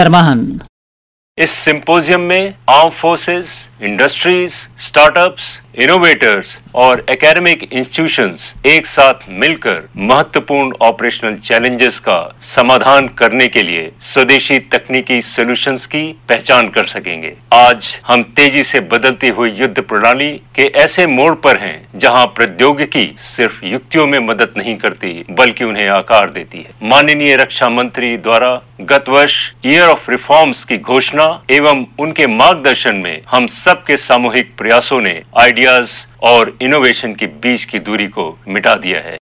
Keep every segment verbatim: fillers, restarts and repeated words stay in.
سرماہن۔ इस सिंपोजियम में arm forces, industries, startups, innovators और एकेडमिक इंस्टीट्यूशंस एक साथ मिलकर महत्वपूर्ण ऑपरेशनल चैलेंजेस का समाधान करने के लिए स्वदेशी तकनीकी सॉल्यूशंस की पहचान कर सकेंगे। आज हम तेजी से बदलती हुई युद्ध प्रणाली के ऐसे मोड़ पर हैं, जहां प्रौद्योगिकी सिर्फ युक्तियों में मदद नहीं करती, बल्कि उन्हें आकार देती है। माननीय रक्षा मंत्री द्वारा गत वर्ष ईयर ऑफ रिफॉर्म्स की घोषणा एवं उनके मार्गदर्शन में हम सबके सामूहिक प्रयासों ने आइडियाज और इनोवेशन के बीच की दूरी को मिटा दिया है।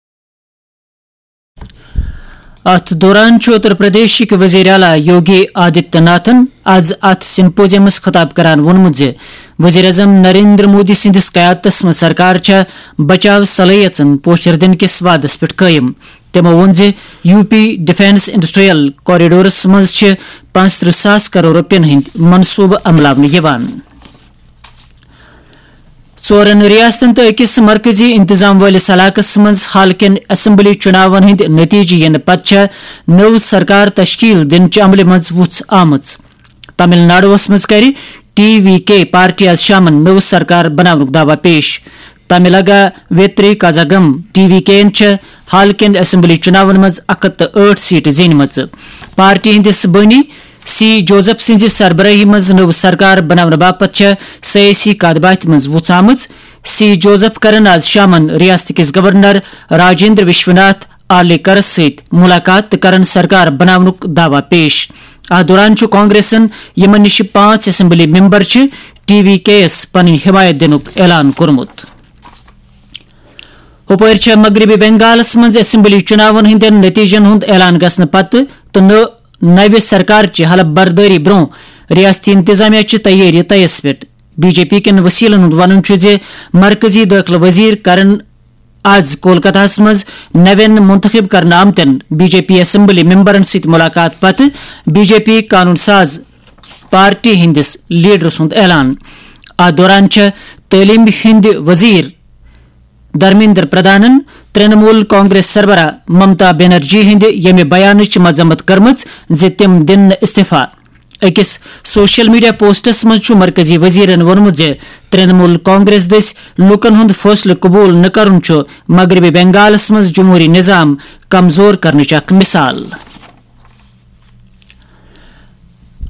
اتھ دوران چھُ اتر پردیشٕکۍ وزیر اعلیٰ یوگی آدتیہ ناتھن از اتھ سمپوزیمس خطاب کران ووٚنمُت زِ وزیر اعظم نریندر مودی سٕنٛدِس قیادتس منٛز سرکار چھےٚ بچاو صلٲحیژن پوچھر دِنہٕ کِس وعدس پٮ۪ٹھ قٲیِم۔ تِمو ووٚن زِ U P defence industrial corridors منٛز چھِ پانٛژترٕٛہ ساس کرور رۄپین ہٕنٛدۍ منصوبہٕ عملاونہٕ یِوان۔ ژورن ریاستن تہٕ أکِس مرکزی انتظام وٲلِس علاقس منٛز حال کٮ۪ن اسمبلی چُناون ہٕنٛدۍ نتیجہٕ یِنہٕ پتہٕ چھےٚ نٔو سرکار تشکیل دِنہٕ چہِ عملہِ منٛز وُژھ آمٕژ۔ تمل ناڈوَس منٛز کرِ ٹی وی کے پارٹی آز شامَن نٔو سرکار بناونُک دعویٰ پیش۔ تملگا ویتری کازاگم ٹی وی کے یَن چھےٚ حال کٮ۪ن اسمبلی چُناون منٛز اکھ ہَتھ تہٕ ٲٹھ سیٹہٕ زینِمژٕ۔ پارٹی ہٕنٛدِس بٲنی سی جوزف سٕنٛزِ سربرٲہی منٛز نٔو سرکار بناونہٕ باپتھ چھےٚ سیٲسی کتھ باتھِ منٛز وُژھ آمٕژ۔ سی جوزف کرن آز شامَن ریاست کِس گورنر راجندر وشوناتھ آلیکرس سۭتۍ مُلاقات تہٕ کرن سرکار بناونُک دعویٰ پیش۔ اتھ دوران چھُ کانگریسن، یِمن نِش پانٛژھ اسمبلی ممبر چھِ، ٹی وی کے یَس پنٕنۍ حمایت دِنُک اعلان کوٚرمُت۔ ہُپٲرۍ چھےٚ مغربی بنگالس منٛز اسمبلی چُناون ہٕنٛدٮ۪ن نتیجن ہُنٛد اعلان گژھنہٕ پتہٕ تہٕ نٔو، نوِ سرکار چہِ حلف بردٲری برٛونٛہہ ریاستی انتظامیہ چہِ تیٲری طیس پٮ۪ٹھ۔ بی جے پی کٮ۪ن وسیلن ہُنٛد ونُن چھُ زِ مرکزی دٲخلہٕ وزیر کرن آز کولکتہس منٛز نوٮ۪ن منتخب کرنہٕ آمتٮ۪ن بی جے پی اسمبلی ممبرن سۭتۍ ملاقات پتہٕ بی جے پی قانون ساز پارٹی ہٕنٛدِس لیڈر سُنٛد اعلان۔ اتھ دوران چھےٚ تعلیمہِ ہٕنٛدِ وزیر دھرمیندر پردھانن ترٛنمول کانگریس سربراہ ممتا بنرجی ہٕنٛدِ ییٚمہِ بیانٕچ مذمت کٔرمٕژ زِ تِم دِن نہٕ استعفیٰ۔ أکِس سوشل میڈیا پوسٹس منٛز چھُ مرکزی وزیرن ووٚنمُت زِ ترٛنمول کانگریس دٔسۍ لوٗکن ہُنٛد فٲصلہٕ قبول نہٕ کرُن چھُ مغربی بنگالس منٛز جمہوری نظام کمزور کرنٕچ اکھ مثال۔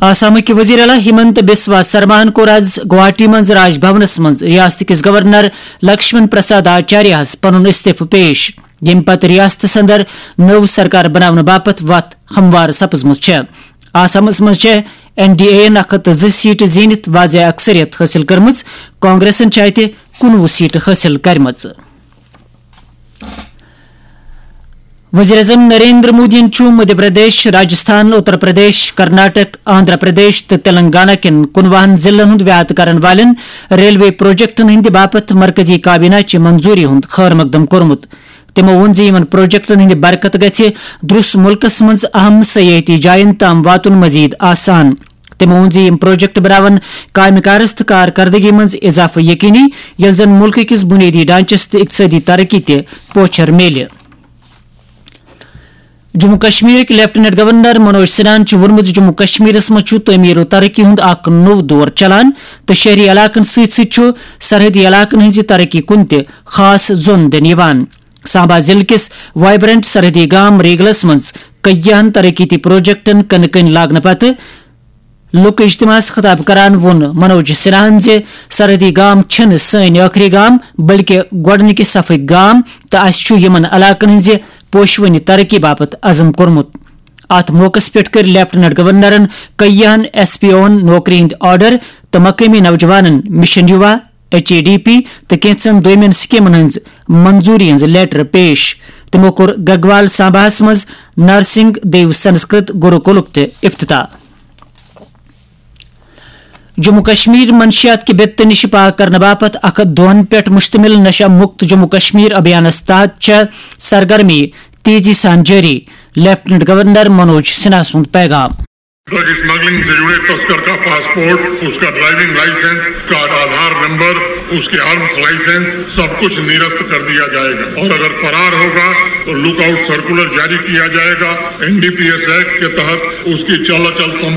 آسامٕکۍ وزیر اعلیٰ ہمنت بسوا سرماہن کوٚر آز گوہاٹی منٛز راج بھونس منٛز ریاست کِس گورنر لکشمن پرساد آچاریاہس پنُن استعفہٕ پیش، ییٚمہِ پتہٕ ریاستس اندر نٔو سرکار بناونہٕ باپتھ وتھ ہموار سپٕزمٕژ چھےٚ۔ آسامس منٛز چھےٚ این ڈی اے یَن اکھ ہَتھ تہٕ زٕ سیٹہٕ زیٖنِتھ واضح اکثریت حٲصِل کٔرمٕژ، کانگریسن چھےٚ اتہِ کُنوُہ سیٹہٕ حٲصِل کٔرمٕژ۔ وزیر اعظم نریندر مودیَن چھُ مدھیہ پردیش، راجستھان، اتر پردیش، کرناٹک، آندھرا پردیش تہٕ تلنگانہ کٮ۪ن کُنوُہن ضلعن ہُنٛد ویاد کرن والٮ۪ن ریلوے پروجیکٹن ہٕنٛدِ باپتھ مرکزی کابینہ چہِ منظوٗری ہُنٛد خٲر مقدم کوٚرمُت۔ تِمو ووٚن زِ یِمَن پروجیکٹَن ہٕنٛدِ برکت گژھِ درٛس مُلکَس منٛز اَہَم سیاحتی جایَن تام واتُن مزید آسان۔ تِمو ووٚن زِ یِم پروجیکٹ بناون کامہِ کارَس تہٕ کارکردگی منٛز اضافہٕ یقینی، ییٚلہِ زَن مُلکہٕ کِس بُنیٲدی ڈھانچَس تہٕ اقتصٲدی ترقی تہِ پوچھر میلہِ۔ جموں کشمیرٕکۍ لیفٹیننٹ گورنر منوج سنہاہَن چھُ ووٚنمُت زِ جموں کشمیرَس منٛز چھُ تعمیٖر و ترقی ہُنٛد اکھ نوٚو دور چلان تہٕ شہری علاقَن سۭتۍ سۭتۍ چھُ سرحدی علاقَن ہٕنٛزِ ترقی کُن تہِ خاص زون دِنہٕ یِوان۔ سامبا ضلعہٕ کِس وائبرنٹ سرحدی گام ریگلس منٛز کٔیہن ترقیتی پروجیکٹن کٕنہٕ کٔنۍ لاگنہٕ پتہٕ لُکہٕ اجتماعس خطاب کران ووٚن منوج سنہاہن زِ سرحدی گام چھِنہٕ سٲنۍ ٲخری گام، بلکہِ گۄڈٕنِکہِ صفٕکۍ گام تہٕ اسہِ چھُ یِمن علاقن ہٕنٛزِ پوشوٕنہِ ترقی باپتھ عزم کوٚرمُت۔ اتھ موقعس پٮ۪ٹھ کٔرۍ لیفٹیننٹ گورنرن کٔیہن ایس پی اوہن نوکری ہٕنٛدۍ آرڈر تہٕ مقٲمی نوجوانن mission Yuva, H A D P تہٕ کینٛژن دوٚیمٮ۪ن سکیمن ہٕنٛز منظوٗری ہٕنٛز لیٹر پیش۔ تِمو کوٚر گگوال سامباہس منٛز نرسنگ دیو سنسکرت گروکلُک تہِ افتتاح۔ جموں کشمیر منشیات کہِ بِتہٕ نِش پاک کرنہٕ باپتھ اکھ ہتھ دۄہن پٮ۪ٹھ مشتمل نشہ مکت جموں کشمیر ابھیانس تحت چھےٚ سرگرمی تیزی سان جٲری، لیفٹیننٹ گورنر منوج سنہا سُنٛد پیغام۔ ڈرگ اسمگلنگ سے جڑے تسکر کا پاسپورٹ، اس کا ڈرائیونگ لائسنس، اس کا آدھار نمبر، اس کے آرمز لائسنس، سب کچھ نرست کر دیا جائے گا اور اگر فرار ہوگا تو لک آؤٹ سرکولر جاری کیا جائے گا۔ N D P S act کے تحت اس کی چل اچل سم